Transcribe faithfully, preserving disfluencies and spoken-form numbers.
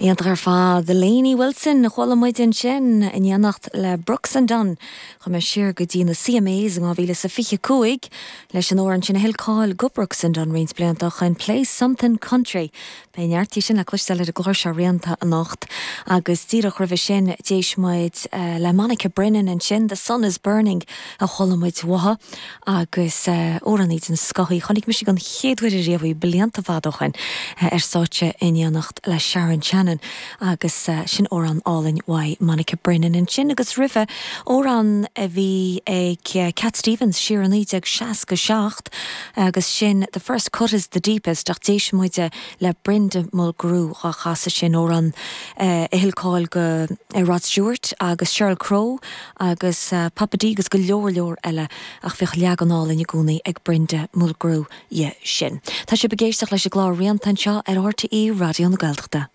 Iontach ar fad Lainey Wilson chuala muid ansin in éineacht le Brooks and Dunn Chuaigh mé siar go dtí na CMAs in dhá mhíle is a fiche cúig leis an amhrán sin a thuill cáil go Brooks and Dunn roinnt blianta ó shin Play Something Country. Beidh neart sin le cloisteáil ar an gclár seo Rianta anocht agus díreach roimhe sin d'éist muid uh, le Monica Brennan ansin The Sun is Burning a chuala muid uaithi agus uh, amhránaí den scoth í chonaic mise an chéad uair riamh í blianta fada ó shin uh, ar stáitse in éineacht le Sharon Shannon agus uh, sin amhrán álainn uaidh Monica Brennan ansin agus roimhe amhrán a bhí ag uh, Cat Stevens siar naoi déag seasca seacht agus sin the first cut is the deepest ach d'éist muid le Brenda Mulgrew á chasadh sin amhrán uh, a thuill cáil go uh, Rod Stewart agus Sheryl Crow agus uh, Papa Dee agus go leor leor eile ach bhíodh leagan álainn i gcónaí ag Brenda Mulgrew dhe sin. Tá sibh ag éisteacht leis an gclár Rianta anseo ar RTÉ Raidió na Gaeltachta.